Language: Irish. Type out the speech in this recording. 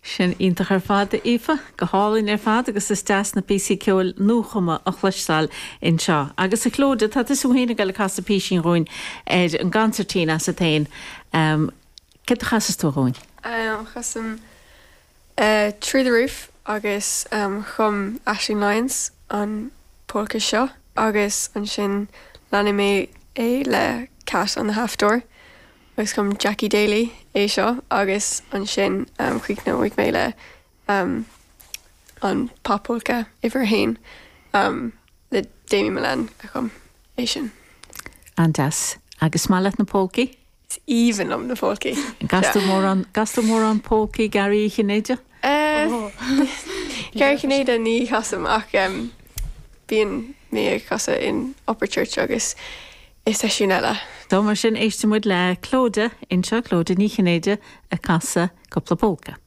Sin iontach ar fad, a Aoife. Go hálainn ar fad agus is deas na píosaí ceoil nuachumtha a chloisteáil anseo. Agus a Chlodagh, tá tusa féin ag dul ag casadh písín dhúinn ar an gconsairtín asat féin. Céard a chasfas tú dhúinn? Casaim Through the Roof agus chum Aisling Lyons an polca seo agus ansin leanfaidh mé é le Cat on the Half Door. Agus chum Jackie Daly é seo agus ansin críochnóidh mé le an pop-pholca uimhir a haon le Damien Mullane a chum é sin. An-deas. Agus is maith leat na polcaí? Is aoibhinn liom na polcaí. An gcastar mórán, gcastar mórán polcaí Garraí Uí Chinnéide? Garraí Chinnéide ní chasaim ach bíonn mé ag casadh in Upperchurch agus i seisiún eile. So mar sin éistfidh muid le Clodagh anseo, Clodagh Ní Chinnéide ag casadh cúpla polca.